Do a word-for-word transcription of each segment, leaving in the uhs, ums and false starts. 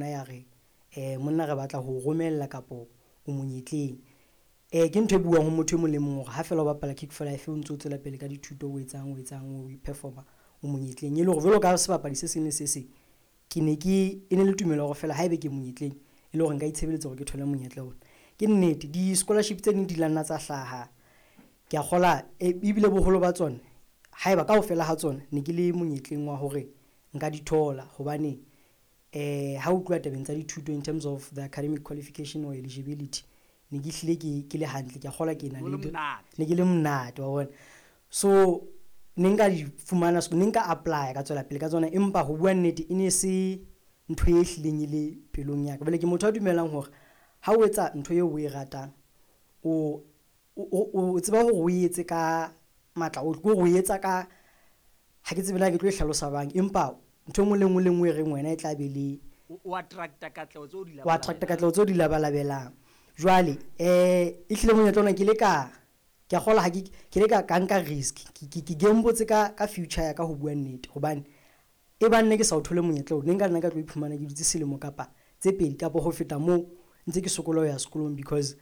nna ya re um monna re batla ho romella kapo o monyetleng. Eh ke ntho e buang ho motho e mong le mong hore ha fela o bapala Kick for Life o ntso tswela pele ka dithuto, o etsang o etsang o performa o monyetleng. E le hore jwalo ka sebapadi se seng le se seng, ke ne ke e ne le tumelo hore fela haebe ke monyetleng e le hore nka itshebeletsa hore ke thole monyetla ona. Ke nnete di-scholarship tse ding di la nna tsa hlaha, ke a kgola ebile boholo ba tsona haeba kaofela ha tsona ne ke le monyetleng wa hore nka di thola. Hobane eh ha o tluwa tabeng tsa dithuto in terms of the academic qualification or eligibility, ne ke hlile ke ke le hantle, ke a kgolwa ke na le ne ke le monate wa bona. So ne nka di fumana, ne nka apply ka tswela pele ka tsona, empa ho bua nnete e ne se ntho e hlileng e le pelong ya ka. Jwale ke motho a dumelang hore ha o etsa ntho eo o e ratang, o o o tseba hore o etse ka matla ohle, ke hore o etsa ka ha ke tsebe na ke tlo e hlalosa jwang, empa ntho e nngwe le nngwe le nngwe e reng wena e tla be le o attracta katleho tseo di o attracta katleho tseo di labalabelang. Jwale eh e hlile monyetla ona ke le ka ke a kgolwa ha ke ke le ka ka nka risk, ke ke ke gambotse ka ka future ya ka ho bua nnete. Hobane e bang ne ke sa o thole monyetla oo, ne nka nna ka tlo iphumana ke dutse selemo kapa tse pedi kapa ho feta moo ntse ke sokola ho ya sekolong. Because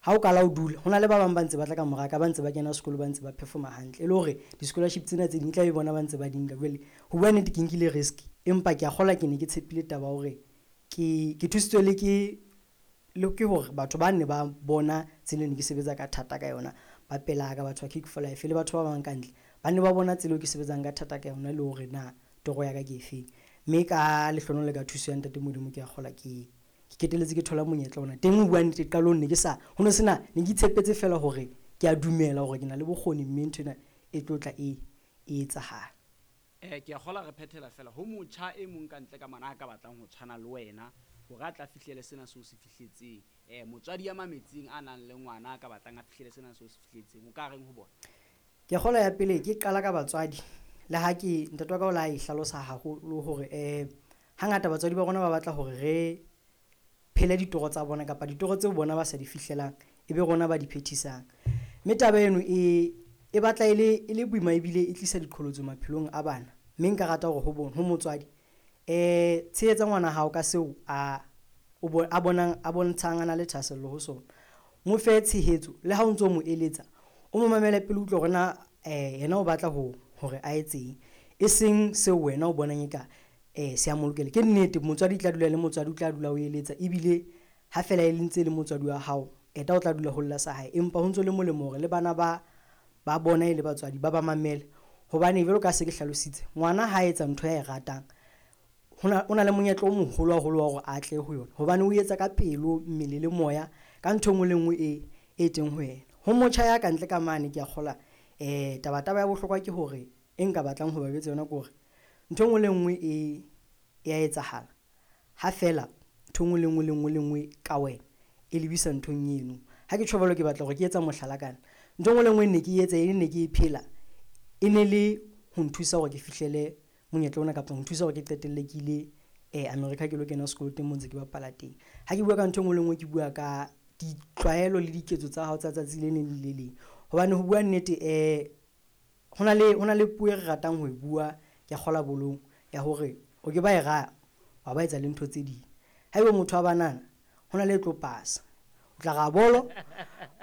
ha o kala o dula, ho na le ba bang ba ntse ba tla ka mora ka, ba ntse ba kena sekolo, ba ntse ba performa hantle, e le hore di-scholarship tsena tse ding e tla be bona ba ntse ba di nka. Jwale ho bua nnete ke nkile risk, empa ke a kgolwa ke ne ke tshepile taba ya hore ke ke thusitswe le ke le ke hore batho ba ne ba bona tsela e ne ke sebetsa ka thata ka yona, ba pelaka batho ba Kick for Life le batho ba bang ka ntle ba ne ba bona tsela eo ke sebetsang ka thata ka yona, le hore na toro ya ka ke efeng. Mme ka lehlohonolo le ka thuso ya ntate Modimo, ke a kgolwa ke ke qetelletse ke thola monyetla ona. Teng ho bua nnete qalong ne ke sa ho no sena, ne ke itshepetse fela hore ke a dumela hore ke na le bokgoni, mme nthwena e tlo tla e e etsahala. Eh ke a kgola re phethela fela ho motjha e mong ka ntle ka mona a ka batlang ho tshwana le wena hore a tla fihlele sena seo se fihletseng. Eh motswadi ya mametseng a nang le ngwana a ka batlang a fihlele sena seo se fihletseng, o ka reng ho bona? Ke kgolwa ya pele ke qala ka batswadi, le ha ke ntate wa ka o la e hlalosa haholo hore eh hangata batswadi ba rona ba batla hore re phele ditoro tsa bona kapa ditoro tseo bona ba sa di fihlelang e be rona ba di phethisang. Mme taba eno e e batla e le e le boima ebile e tlisa diqholotso maphelong a bana. Mme nka rata hore ho bona ho motswadi eh tshehetsa ngwana hao ka seo a o bo a bonang a bontshang a na le thahasello ho sona. Mo fe tshehetso le ha o ntso mo eletsa, o mo mamele pele, utlwe hore na eh yena o batla ho hore a etseng, e seng seo wena o bonang eka eh se a mo lokela. Ke nnete motswadi tla dula le motswadi, o tla dula o eletsa, ebile ha fela e le ntse le motswadi wa hao eta o tla dula ho lla sa hae, empa ho ntso le molemo hore le bana ba ba bona e le batswadi ba ba mamele. Hobane jwalo ka se ke hlalositse, ngwana ha etsa ntho ya e ratang, hona o na le monyetla o moholo haholo wa hore a atle ho yona, hobane o etsa ka pelo, mmele le moya ka ntho e nngwe le nngwe e e teng ho yena. Ho motjha ya kantle ka mane, ke a kgolwa eh taba taba ya bohlokwa ke hore e nka batlang ho ba jwetsa yona ke hore ntho e nngwe le nngwe e ya etsahala ha fela ntho e nngwe le nngwe le nngwe le nngwe ka wena e lebisa nthong eno. Ha ke tjho jwalo, ke batla hore ke etsa mohlala kana ntho e nngwe le nngwe ne ke etsa e ne ke e phela e ne le ho nthusa hore ke fihlele monyetla ona kapa ho nthusa hore ke qetelle ke ile eh America ke lo kena sekolo teng moo ntse ke bapala teng. Ha ke bua ka ntho e nngwe le nngwe, ke bua ka ditlwaelo le diketso tsa hao tsa tsatsi le leng le le leng. Hobane ho bua nnete eh hona le hona le puo e re ratang ho e bua ke kgola bolong ya hore o ke ba e raya wa ba etsa le ntho tse ding. Haeba motho wa banana hona le e tlo pasa, o tla ra bolo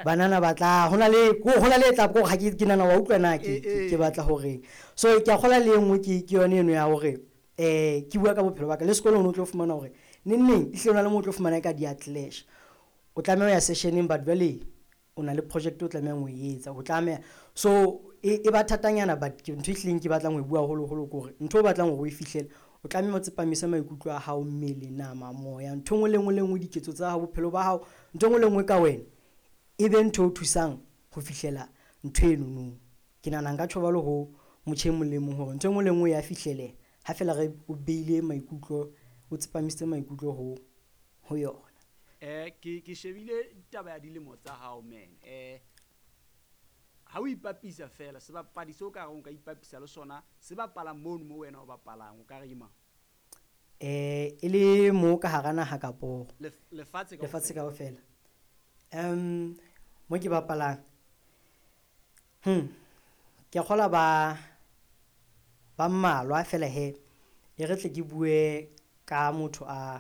banana ba tla hona le ho na le tla ko ha ke ke nana wa utlwa na ke ke batla hore. So ke a kgola le e nngwe ke ke yona eno ya hore eh ke bua ka bophelo ba ka le sekolong o tlo fumana hore neng neng ehlile hona le mo o tlo fumana ka di a clash. O tlameha ho ya sessioneng, but jwale o na le project o tlamehang ho e etsa, o tlameha. So e e ba thatanyana, but ke ntho e hlileng ke batlang ho e bua haholoholo ke hore ntho o batlang hore o e fihlele, o tlameha o tsepamise maikutlo a hao, mmele, nama, moya, ntho e nngwe le nngwe le nngwe, diketso tsa hao, bophelo ba hao, ntho e nngwe le nngwe ka wena e be ntho e o thusang ho fihlela ntho eno no. Ke nahana nka tjho jwalo ho motjha e mong le mong hore ntho e nngwe le nngwe ya fihleleha ha fela re o beile maikutlo, o tsepamisitse maikutlo ho ho yona. Eh ke ke shebile taba ya dilemo tsa hao man. Eh ha o ipapisa fela sebapadi seo ka reng o ka ipapisa le sona se bapalang mono mo wena o bapalang, o ka re ke mang? Eh e le mo ka hara naha kapo lefatshe lefatshe kaofela? Um mo ke bapalang, hmm ke a kgolwa ba ba mmalwa fela he e re tle ke bue ka motho a